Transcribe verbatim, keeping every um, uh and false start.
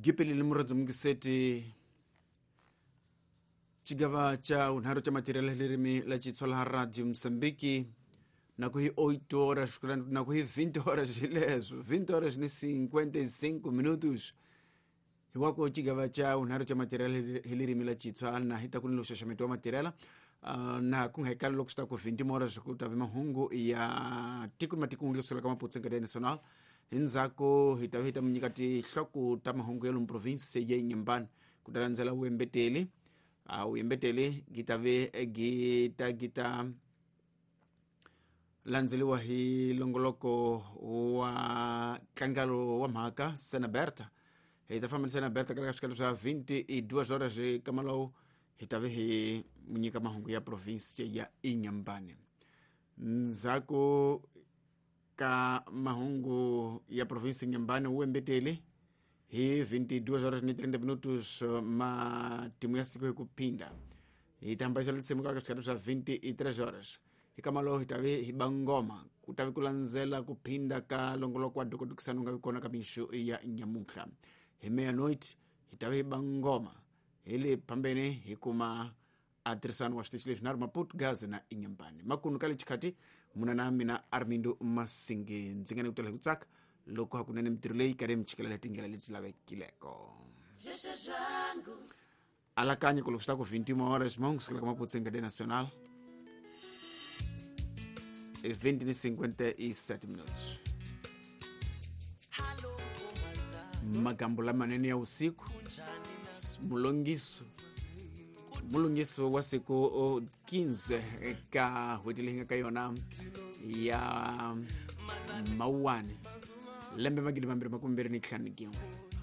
Gipelile muradzi mungiseti chigava cha unharo cha material lerimi la Xitsonga Radio Mozambique na ku hi oito horas na ku hi vinte horas leswo vinte horas ni cinquenta e cinco minutos hiwako chigava cha unharo cha material lerimi la Xitsonga na hita ku ni loxaxameto wa material uh, na ku hekala loko swi ta ku vinte horas ku ta vi mahungu ya tiko matiko nglisela ka Maputo Cadeia Nacional hindzako hi ta hi ta munyika tihloko ta mahungu ya lomu province ya Inhambane ku ta landzela vuembeteli a vuembeteli gi ta ve gi ta gi ta landzeliwa hi longoloko wa tlangalo wa mhaka Sena Berta hi ta famba ni Sena Berta ka swikalo swa vinte e duas horas kamalawu hi ta ve hi munyika mahungu ya province ya Inhambane ndzhaku ka mahungu ya province Inhambane uembetele hi vinte e duas horas ni trinta minutos matimu ya siku hi ku phinda hi ta hambana letsemo ka swikalo swa vinte e três horas hi kamalo hi ta ve hi bangoma ku ta ve ku landzela ku phinda ka longoloko wa dokodokisano nga vi kona ka mixo ya nyamuhla hi meia-noite hi ta ve hi bangoma hi le phambene hi kuma a tirhisano wa switichi leswi nharhu Maputo, Gaza na Inhambane makunu ka le xikhati muna na mina Armindo Masinge ndzi nga ni ku tela hi ku tsaka loko hakunene mintirho leyi karhi mi chikelela tindlela leti lavekileko alakanya ku loko swi ta ku vinte e uma horas mahungu kusukela ka Maputo Cadeia Nacional vinte e cinquenta e sete minutos magambo lamanene ya usiku mulongiso mulungiso wa siku quinze ka n'hweti leyi nga ka yona ya Mawuwani lembe magidi mambirhi makume mbirhi ni ntlhanu gin'we.